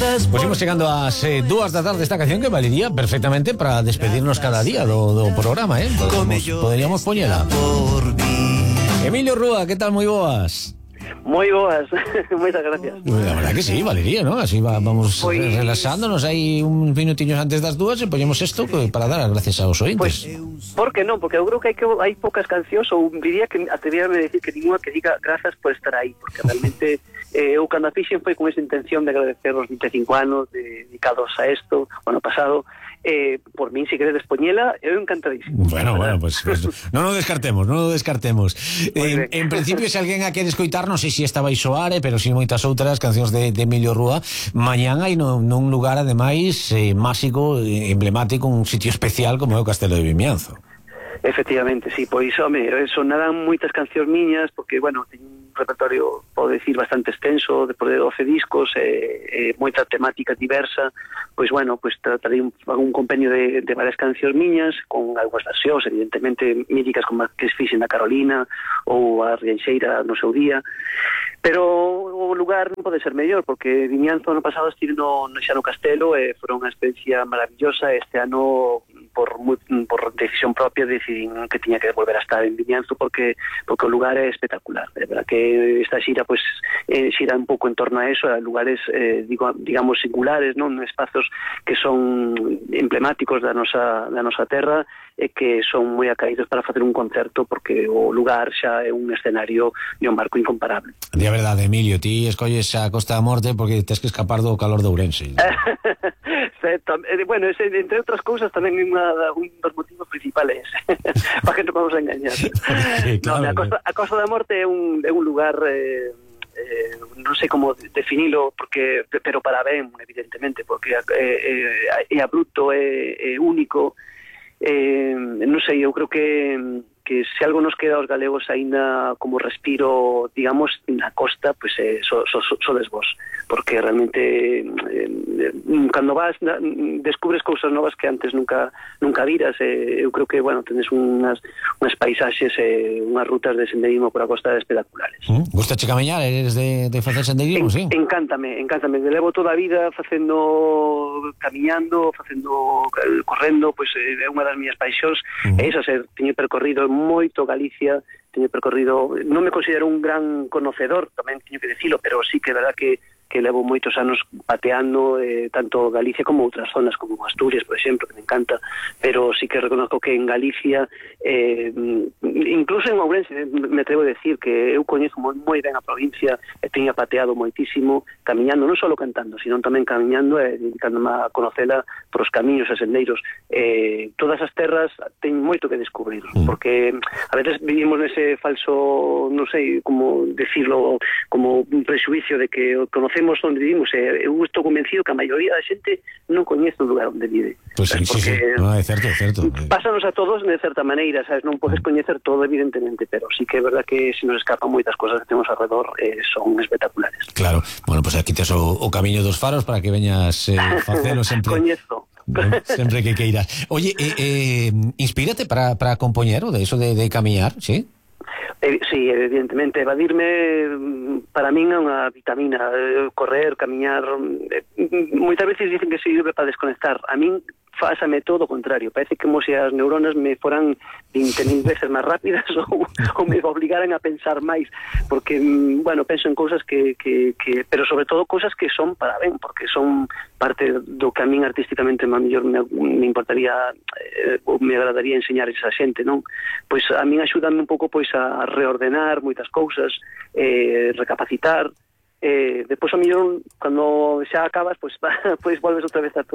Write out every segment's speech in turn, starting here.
Pois imos chegando ás 2 da tarde. Esta canción que valería perfectamente para despedirnos cada día do programa, Poderíamos poñela. Emilio Rúa, que tal? Moi boas. Moi boas, moitas gracias. La verdad que sí, valería, ¿no? Así vamos relaxándonos aí un minutiños antes das 2 e poñemos isto para dar as gracias aos ointes. Por que non? Porque eu creo que hai poucas cancións, ou diría que atrevíame a decir que ninguna que diga grazas por estar aí, porque realmente eu cando a fixen foi con esa intención de agradecer os 25 anos dedicados a isto, o ano pasado. Por min, se queredes poñela, eu encantadísimo. Bueno, pues non o descartemos. En principio, se alguén a quere escoitar, non sei se esta vai soar, pero si moitas outras cancións de Emilio Rúa. Mañán hai nun lugar, ademais, máxico, emblemático, un sitio especial como é o Castelo de Vimianzo. Efectivamente, sí, pois, home, sonarán moitas cancións miñas, porque, bueno, teño un repertorio, podo decir, bastante extenso, de 12 discos, moita temática diversa. Pois, bueno, tratarei un compendio de varias cancións miñas, con algunhas versións, evidentemente, míticas como a que fixen na Carolina, ou a Rianxeira no seu día. Pero o lugar non pode ser mellor, porque Vimianzo ano pasado estive xa no Castelo, foron unha experiencia maravillosa. Este ano, por decisión propia, decidín que tiña que volver a estar en Vimianzo, porque o lugar é espectacular. É verdad que esta xira xira un pouco en torno a eso, a lugares digamos singulares, non, espazos que son emblemáticos da nosa terra e que son moi acaídos para facer un concerto, porque o lugar xa é un escenario e un marco incomparable. Di a verdade, Emilio, ti escolles a Costa da Morte porque tens que escapar do calor de Ourense. Bueno, entre outras cousas tamén un dos motivos principales para que non vamos a engañar. Claro, a Costa da Morte é un lugar, non sei como definilo, pero para ben, evidentemente, porque é abrupto, é único. Non sei, eu creo que se algo nos queda aos galegos aínda como respiro, digamos, na costa, pois sodes vos, porque realmente cando vas descubres cousas novas que antes nunca viras. Eu creo que, bueno, tenes unhas paisaxes e unhas rutas de senderismo por a costa espectaculares. Gustache camiñar? Eres de facer senderismo, sí? Encántame, levo toda a vida camiñando, correndo, pois é unha das miñas paixóns. E iso, teño percorrido moito Galicia, non me considero un gran conocedor, tamén teño que dicilo, pero sí que é verdad que levo moitos anos pateando tanto Galicia como outras zonas, como Asturias, por exemplo, que me encanta, pero sí que reconozco que en Galicia, incluso en Ourense, me atrevo a decir que eu coñezo moi ben a provincia e teño pateado moitísimo, camiñando, non só cantando, sino tamén camiñando e dedicándome a conocela por os camiños e sendeiros. Todas as terras teñen moito que descubrir, porque a veces vivimos nese falso, non sei como decirlo, como un prexuicio de que conocemos onde vivimos. Eu estou convencido que a maioría da xente non coñece o lugar onde vive. Pues sí, sí. No, é certo. Pásanos a todos de certa maneira, sabes? Non podes coñecer todo, evidentemente, pero sí que é verdad que se nos escapan moitas cosas que temos alrededor, son espectaculares. Claro, bueno, pues aquí tes o camiño dos faros para que veñas facelo sempre. Coñezo. Sempre que queiras. Oye, inspírate para compoñer o de eso de camiñar, ¿sí? Sí, evidentemente, evadirme para min é unha vitamina. Correr, camiñar, moitas veces dicen que sirve para desconectar. A min fásame todo o contrario, parece como se as neuronas me foran 20.000 veces máis rápidas ou me obligaran a pensar máis, porque, bueno, penso en cousas que pero sobre todo cousas que son para ben, porque son parte do que a min artísticamente mellor me importaría ou me agradaría enseñar esa xente, non? Pois a min axúdame un pouco pois a reordenar moitas cousas, recapacitar. Despois o mellor cando xa acabas pois volves outra vez ao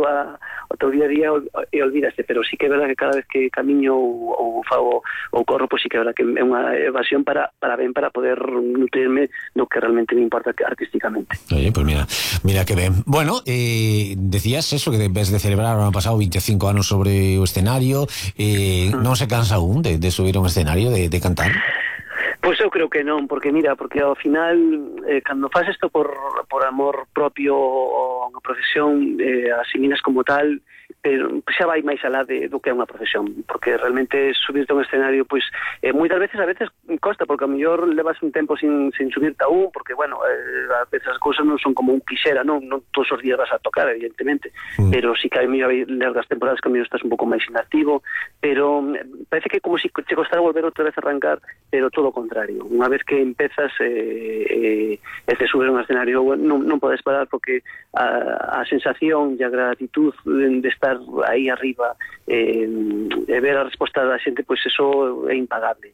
teu día a día e olvidaste, pero sí que é verdad que cada vez que camiño ou fago ou corro, pois sí que é verdad que é unha evasión para poder nutrirme do que realmente me importa artísticamente. Oye, pues mira que ben. Bueno, decías eso, que en vez de celebrar o ano pasado 25 anos sobre o escenario, non se cansa aún de subir a un escenario, de cantar? Pois eu creo que non, porque ao final cando faz isto por amor propio ou unha profesión, asimilas como tal, pero xa vai máis alá do que é unha profesión, porque realmente subirte a un escenario, pois moitas veces costa, porque a mellor levas un tempo sin subirte a un, porque, bueno, a veces as cousas non son como un quixera, non todos os días vas a tocar, evidentemente, pero sí que hai mellor largas temporadas que a mellor estás un pouco máis inactivo, pero parece que como se che costara volver outra vez a arrancar, pero todo o contrario. Unha vez que empezas e te subes a un escenario, non podes parar, porque a sensación e a gratitud de estar aí arriba e ver a resposta da xente, pois eso é impagable.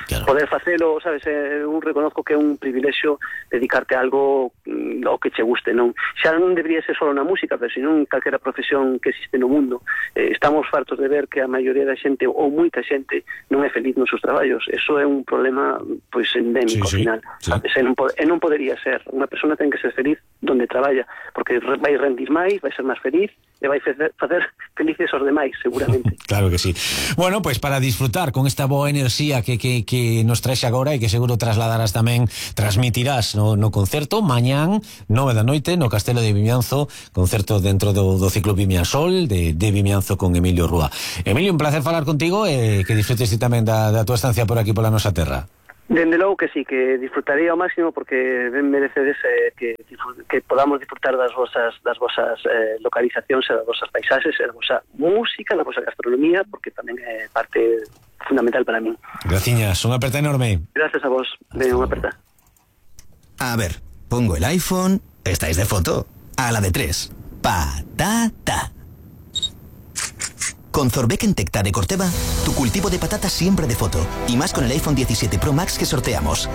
Claro. Poder facelo, sabes, un reconozco que é un privilexio dedicarte a algo ao que che guste, non? Xa non debería ser só na música, pero senón calquera profesión que existe no mundo. Estamos fartos de ver que a maioría da xente, ou moita xente, non é feliz nos seus traballos. Eso é un problema, pois, endémico, ao final. Sabes? E non podería ser. Unha persona ten que ser feliz donde traballa, porque vai rendir máis, vai ser máis feliz, e vai facer felices aos demais, seguramente. Claro que sí. Bueno, pues para disfrutar con esta boa enerxía que nos traes agora, e que seguro trasladarás tamén, transmitirás no concerto mañán 9 da noite no Castelo de Vimianzo, concerto dentro do ciclo Vimiansol de Vimianzo con Emilio Rúa. Emilio, un placer falar contigo, e que disfrutes ti tamén da tua estancia por aquí pola nosa terra. Dende logo que sí, que disfrutaría ao máximo, porque ben merecedes que podamos disfrutar das vosas localizacións e das vosas paisaxes e da vosa música, da vosa gastronomía, porque tamén é parte fundamental para min. Graciñas, unha aperta enorme. Gracias a vos, unha aperta. A ver, pongo el iPhone, estáis de foto, a la de 3, patata. Con Zorbeck Tecta de Corteva, tu cultivo de patatas siempre de foto, y más con el iPhone 17 Pro Max que sorteamos.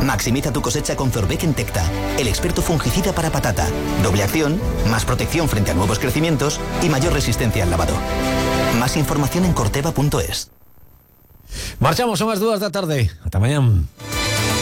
Maximiza tu cosecha con Zorbeck Tecta, el experto fungicida para patata. Doble acción, más protección frente a nuevos crecimientos y mayor resistencia al lavado. Más información en corteva.es. Marchamos, son as 2 da tarde. Ata mañán.